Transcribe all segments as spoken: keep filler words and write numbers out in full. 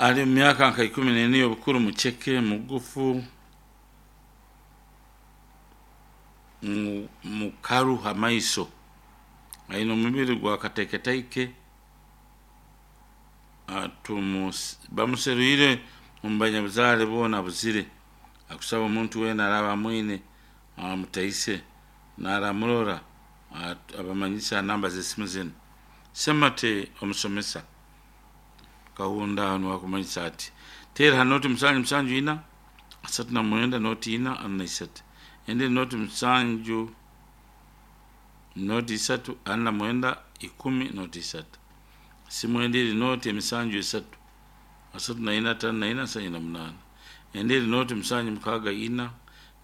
Ali mu myaka nka ikumi n'ena y'obukuru, muceke, mugufu, mukaru ha maiso, aine omubiri gwa kateeketaike. Bamuseruire omu banyabuzaale boona abuzire. Akusaba omuntu weena araaba amwine amutaise, naaramurora abamanyise ha namba z'esimu zinu. Semate omusomesa Kahunda nuwe akumanyisa ati teera ha nooti musanju musanju ina asatu na mwenda nooti ina ana na isatu, endi nooti musanju nooti isatu ana na mwenda ikumi nooti isatu, simu endi eri nooti emisanju esatu asatu na ina ataano na ina nsanju na munaana, endi eri nooti musanju mukaaga ina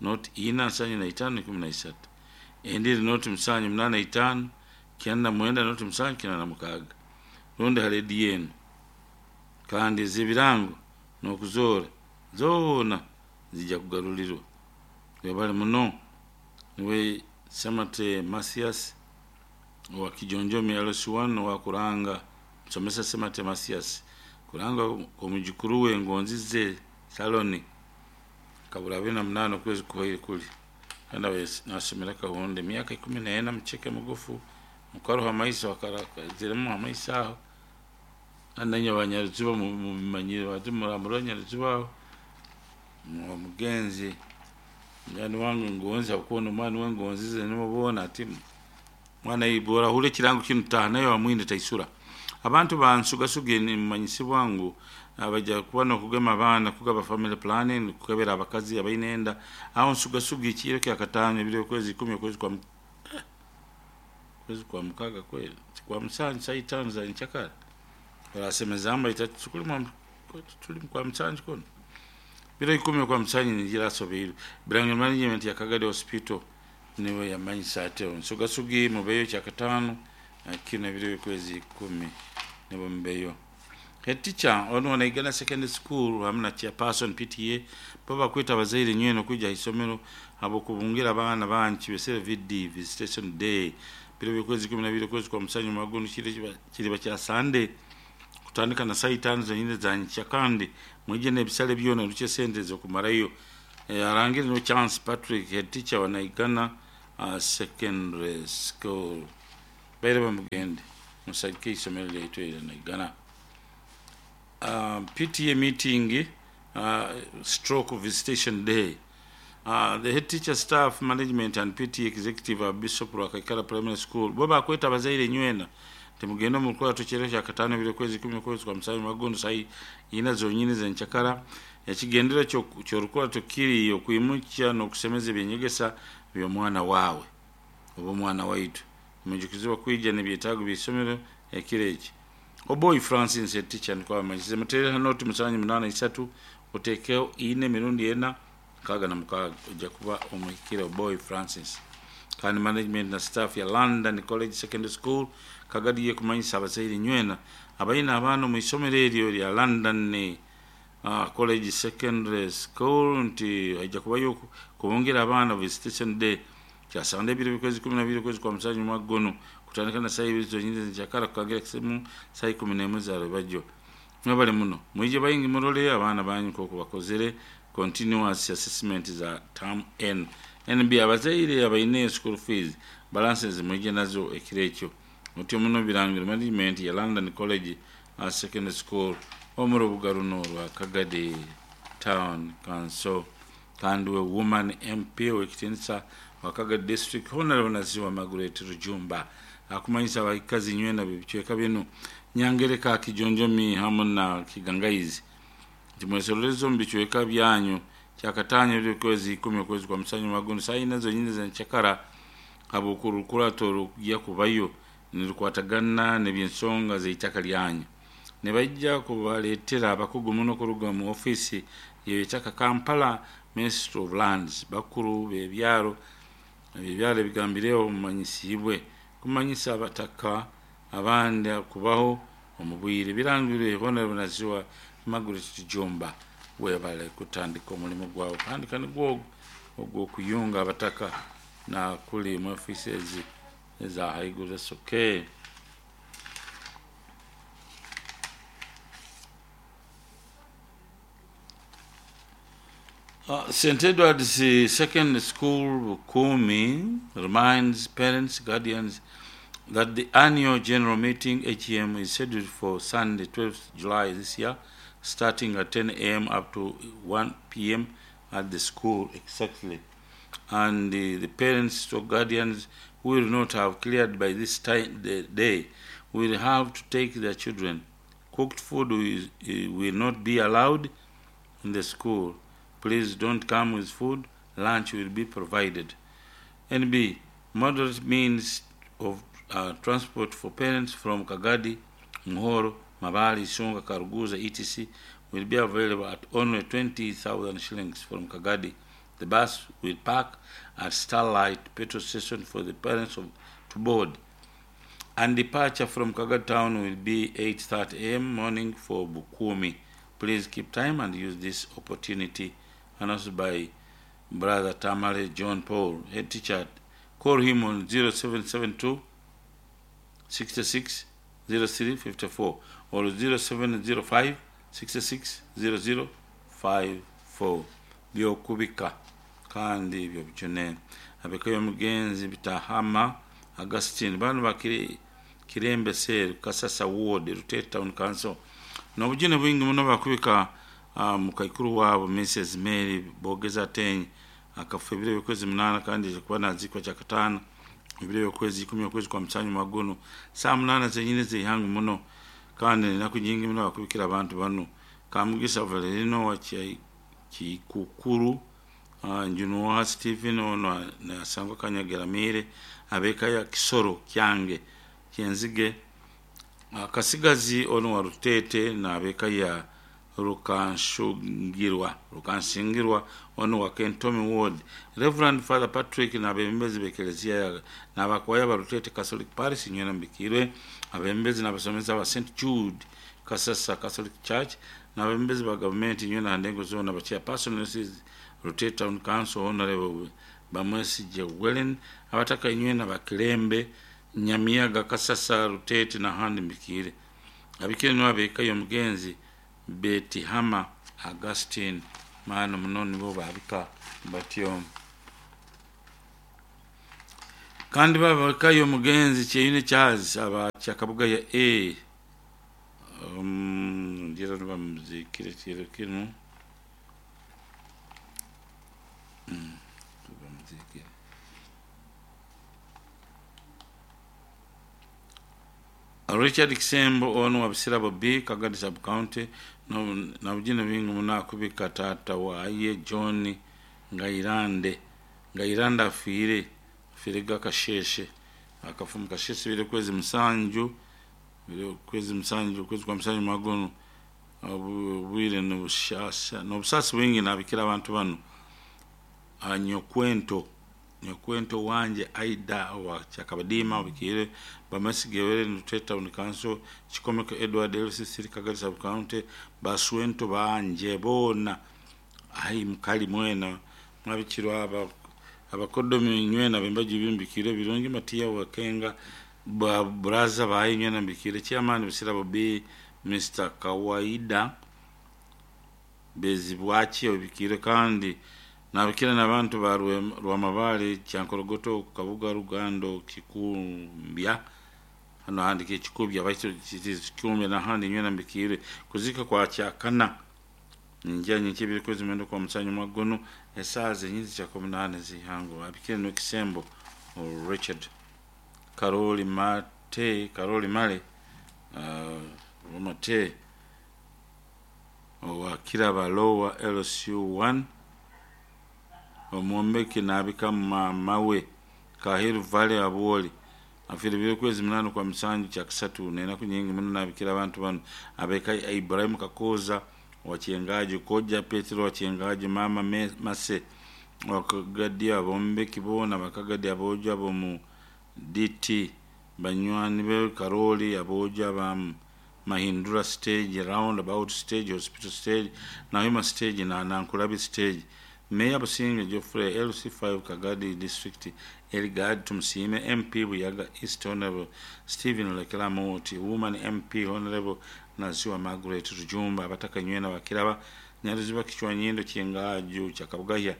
nooti ina nsanju na itaano ikumi na isatu, endi eri nooti musanju munaana itaano kyenda na mwenda nooti musanju kyenda na mukaaga, rundi ha rediyo enu. Kandi ez'ebirango n'okuzoora zoona ziija kugarulirwa. Webale muno. Niwe Semate Mathias owa Kijonjomi L C one owa Kuranga, musomesa Semate Mathias kuranga omwijukuru we Ngonzize Saloni kabura abiri na munaana okwezi kuhoire kuli, kandi nasomera Kahunda emyaka ikumi n'ena, muceke, mugufu, mukaruha amaiso, akaraziremu amaiso aho. Kandi nainywe abanyaruziba mubimanyire, bati muramurora nyaruziba aho omugenzi munywani wange Ngonzi, habwokuba n'omwana we Ngonzize nibo boona ati mwana bw'orahurra ekirango kinu taaha nayo wamwine taisura. Abantu bansugasuge nimumanyisibwa ngu abaija kuba n'okugema abaana, kugaba family planning, kukebera abakazi abaine enda aho nsugasuga ekiro kyakataano ebiro okwezi ikumi okwezi kwa kwezi kwa mukaaga kweli kwa musanju saa itaano za nkyakara orasemezaamu, baitu tuli kwa musanju kunu biro ikumi okwa musanju ningira asobiirwe. Birangiro Management ya Kagadi Hospital niwe yamanyisa ati nsugasugi mubeyo kyakataano kino ebiro okwezi ikumi nibo mubeyo. Head teacher ono wa Naigana Secondary School hamu na chairperson P T A bo bakweta abazaire nywena okwija ha isomero habw'okubungira abaana banyu kibesere V D visitation day biro by'okwezi ikumi na bibiri okwezi kwa musanju mwaka kiriba kya Sunday kutandika na saa itaano zonyini za nkya, kandi mwije n'ebisale byona rukye sente z'okumarayo. Arangire no Chance Patrick, head teacher wa Naigana uh, Secondary School. Baire bamugende musagike isomero lyaitu erya Naigana. Uh, P T A meeting uh, stroke visitation day. Uh, the head teacher, staff, management and P T A executive of Bishop Rwakaikara Primary School bo bakweta abazaire nywena timugende mu rukurato kyero kya kataano ebiro okwezi ikumi okwezi kwa musanju magondo saa ina zonyini z'enkyakara. Ekigendera ky'orukurato kiri okwimukya n'okusemeza ebyenyegesa by'omwana waawe oba omwana waitu. Mujukizibwa kwija n'ebyetaago by'isomero ekiro eki. Oboy Francis head teacher niko abamanyisize. Muteere ha nooti musanju munaana isatu oteekeho ina emirundi ena mukaaga na mukaaga ojja kuba omuhikire Oboy Francis. Kandi management na staff ya London College Secondary School Kagadi yekumanyisa abazaire nywena abaine abaana omu isomero eryo lya London uh, College Secondary School nti haija kubayo kubungira abaana visitation day kyasande ebiro by'okwezi ikumi na bibiri okwezi kwa musanju mwaka guno kutandika na saa ibiri zonyini z'enkyakara kukangira kisimu saa ikumi n'emwe za rwebagyo. Mwebale muno mwije baingi murole abaana banyu nk'oku bakozere continuous assessment za term N N B. Abazaire abaine school fees balances mwije nazo ekiro ekyo. Mutyo muno Birangiro Management ya London College uh, Secondary School omu rubuga runo rwa Kagadi Town Council. Kandi we woman M P w'ekitiinisa wa Kagadi District Honorable Naziwa Margaret Rujumba akumanyisa abakazi nywena b'ebicweka binu Nyangereka, Kijonjomi hamu na Kigangaizi nti mwesorolezo omu bicweka byanyu kyakataano eby'okwezi ikumi okwezi kwa musanju magondo saa ina zonyini z'enkyakara habw'okurukurato rukujya kubayo nirukwatagana n'eby'ensonga z'eitaka lyanyu. Nibaija kubaleetera abakugu muno kuruga mu ofiisi y'eitaka Kampala Ministry of Lands, bakuru b'ebyaro ebyaro ebigambireho mumanyisiibwe kumanyisa abataka abandi kubaho omu bwire. Birangirwe Honorable Naziwa Margaret Rujumba. Webale kutandika omulimu gwawe kandi kandi gwo ogw'okuyunga abataka na kuli mu ofiisi ezi eza haiguru. That's okay. Uh, Saint Edward's Secondary School, Kumi, reminds parents, guardians that the annual general meeting, H M, is scheduled for Sunday, twelfth July this year, starting at ten A M up to one P M at the school exactly. And the, the parents or guardians who will not have cleared by this time, the day, will have to take their children. Cooked food will, will not be allowed in the school. Please don't come with food. Lunch will be provided. N B, moderate means of uh, transport for parents from Kagadi, Muhoro, Mabali, Songa, Karuguza, et cetera will be available at only twenty thousand shillings from Kagadi. The bus will park at Starlight petrol station for the parents of, to board. And departure from Kagadi town will be eight thirty A M morning for Bukumi. Please keep time and use this opportunity. Announced by Brother Tamale John Paul, head teacher. Call him on zero seven seven two, sixty-six, zero three fifty-four or zero seven zero five, sixty-six, zero zero five four. Byokubika kandi byobujune abekayo mugenzi bitahama Augustine bano bakiri Kirembe Sel Kasasa Ward Rutete Town Council nobujune bwingi muno bakubika uh, mukaikuru wabo Missus Mary Bogeza Ten akafa ebiro by'okwezi munana kandi kuba nazikwa kya katano ebiro by'okwezi ikumi okwezi kwa musanyu magono saa munana zenyine zeihangu muno kandi enaku nyingi muno bakubikira abantu bano Kamugisa Valerino wa Kikukuru uh, Njunuwa Stephen ono nasangwa Kanyageramire abeka ya Kisoro Kyange Kyenzige uh, Kasigazi ono wa Rutete na abeka ya Rukanshungirwa Rukanshingirwa ono wa Kentomi Ward Reverend Father Patrick na abembezi bekelezia na abakwaya ba Rutete Catholic Parish nyona mbikirwe abembezi na abasomesa ba Saint Jude Kasasa Catholic Church na abembezi ba government nyona ndengo zona ba chairperson Rutete Town Council Honorable Bamwesi Jewelen abataka nywena bakilembe Nyamiyaga Kasasa Rutete na handi mbikire abikire no abeka yo mugenzi Betihama Augustine maana muno nibo babika batyo kandi babakayo mugenzi Kyeyune Charles aba Kyakabuga ya A um ndira bamuzikire kiro kino mm bamuzikire Richard Kisembo ono wa Busirabo B Kagadi Sub County no na bujine bingi munakubika tata waye John Ngairande Ngairanda afire afire gakasheshe akafumu kasheshe bire kwezi musanju bire kwezi musanju kwezi kwa musanju magono obwire no bushasha no busasi wingi nabikira abantu bano anyokwento nyokwento wanje Aida wa Kyakabadima bikire bamasigewere Rutete Town Council Chikomeko Edward L C C Kagadi Sub County baswento banje bona ai mukali mwena mwabikirwa aba abakodomi nywena bembaji bimbikire birungi Matiya Wakenga ba braza bayi nywena mbikire chairman Busirabo B Mister Kawaida Bezibwachi obikire kandi nabikira n'abantu ba Rwamabale Kyankorogoto Kabuga Rugando Kikumbya hano handike Kikubya baitu Kikumbya na handi nywena mbikire kuzika kwa Kyakana njya nyikibiri kwezi mwendo kwa musanyu magono esaze nyinzi cha kumi na nane zihango abikire no Kisembo Richard Karoli Mate Karoli Male uh, Mate wa Kiraba Lower L C U one omwombeki nabika mawe Kahiru Valley abwoli afire bire kwezi munano kwa musanju kya kisatu nena kunyingi muno nabikira abantu bano abeka Ibrahim Kakoza wachengaji Koja Petro wachengaji mama me, Mase wakagadi abombeki bona bakagadi aboja bomu D T banywani be Karoli aboja ba Mahindura stage roundabout stage hospital stage na Hima stage na Nankulabi stage Mayor Businge Geoffrey L C five Kagadi District Elgad Tumsime M P Buyaga East Honorable Stephen Lekelamoti Woman M P Honorable Naziwa Margaret Rujumba abataka nywena bakiraba Nyaruziba Kichwanyindo Kyengaju Kyakabugahya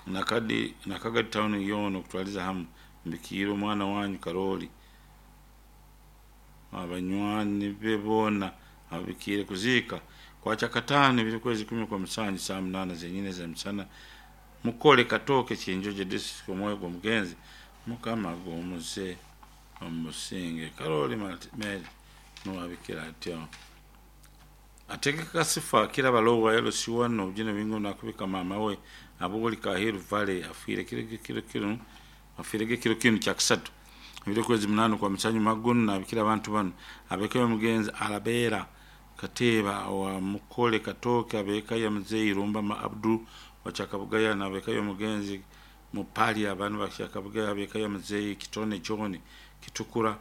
nakadi Nakagadi town yoona okutwaliza hamu mbikiire omwana wanyu Karoli abanywani be boona ababikiire kuziika kwa Kyakataano ebiri kwezi ikumi kwa musanju saa munaana zenyini ez'emisana mukole Katooke Kyenjojo district. Omwoyo gw'omugenzi Mukama gumuze omusinge. Karoli Mary nuwabikira atyo ategeka sifa kira balowa L C one obujina bingo nakubika mama we abuli Kahiru Valley afiire kiro kiro kiro afiire kiro kino kyakusatu ebiri kwezi munano kwa musanyu magunu nabikira abantu bano abeka omugenzi Alabera Kateba wa Mukole Katooke abeka ya Mzee Irumba ma Abdu wa Chakabugaya na abeka ya mugenzi Mupali abantu ba Chakabugaya abeka ya Mzee Kitone John Kitukura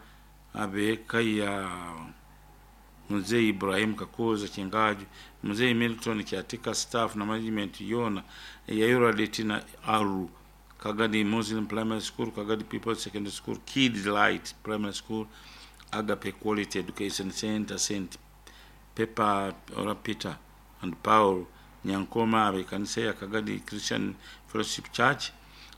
abeka ya Mzee Ibrahim Kakoza Chingaju Mzee Milton Kiatika staff na management yona ya Euradit na Aru Kagadi Muslim Primary School, Kagadi People's Secondary School, Kids Light Primary School, Agape Quality Education Center, Saint Pepper or Peter and Paul Nyankoma abekanisa ya Kagadi Christian Fellowship Church,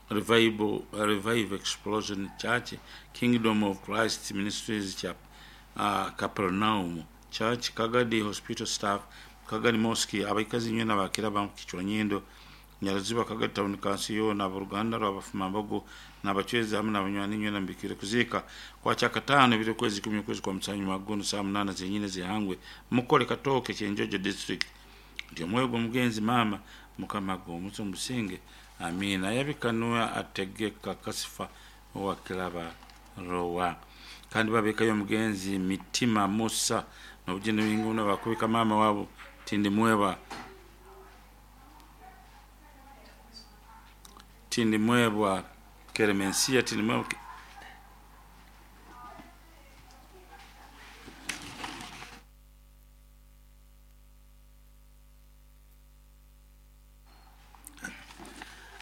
Revival Revive Explosion Church, Kingdom of Christ Ministries Chap, uh, Capernaum Church, Kagadi Hospital Staff, Kagadi Mosque, abaikazi nywena bakira bakichwanyindo Nyaruziba Kagadi Town Council yona aboluganda lw'abafumambogo n'abachwezi hamwe n'abanywani nywena mbikire kuziika kwa Kyakataano ebiri kwezi ikumi kwezi kwa musanyu magono saa munaana zenyine zihangwe Mukole Katooke Kyenjojo district. Nti omwoyo gw'omugenzi maama Mukama gumuze omusinge amiina. Yabikanwa ategeka kasifa owa Kiraba Rowa kandi babekayo omugenzi Mitima Musa n'obugeni bingi bakubika maama wabo Tindimweba Tindimwebwa Keremensia Tindimwebwa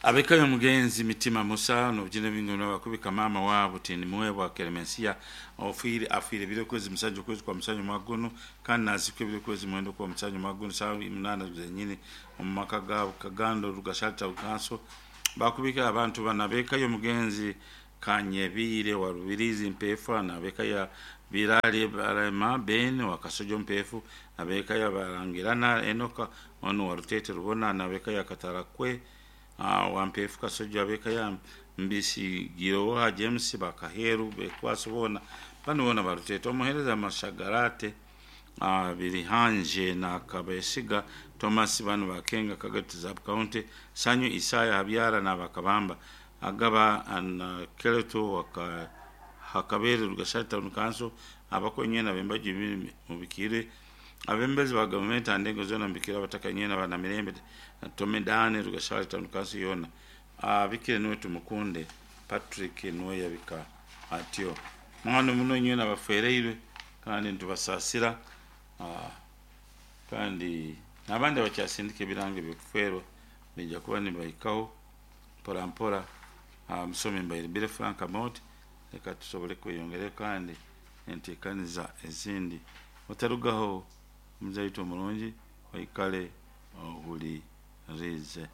abekayo omugenzi Mitima Musa n'obugeni bingi bakubika maama wabo Tindimwebwa Keremensia ofiire afiire ebiro kwezi musanju kwezi kwa musanju magono kandi nazikwa ebiro kwezi mwenda kwa musanju magono saa munaana zenyini omu maka gaabo Kagando Rugashalta Council. Bakubika abantu banabekayo omugenzi Kanyebire wa Rubirizi Mpefu nabekaya Birale Barema Ben wa Kasojo Mpefu nabekaya Barangirana Enoka ono wa Rutete Rubona nabekaya Katarakwe uh, wa Mpefu Kasojo abekaya Mbisi Giroha James Bakaheru Bekwaso bona bano bona barutete omuhereza Mashagarate uh, Birihanje na Kabesiga Thomas bano bakenga Kagati Zab County Sanyu Isaya Habyara na Bakabamba Agaba na Keleto waka Hakabere Rugasha Town Council abakonyena bembaji mubikire abembezi ba government andengo zona mbikira batakanyena bana mirembe Tomedane Rugasha Town Council yona abikire niwe tumukunde Patrick niwe yabika atyo mwana muno nyena bafereirwe kandi ntubasasira kandi nabandi bakyasindika ebirango ebyokuferwa bijja kuba nibaikaho mpora mpora. Musome mbaire Bire Frank Amot reka tusobole kweyongera kandi enteekaniza ezindi otarugaho omuzaito omurungi oikale ohulirize.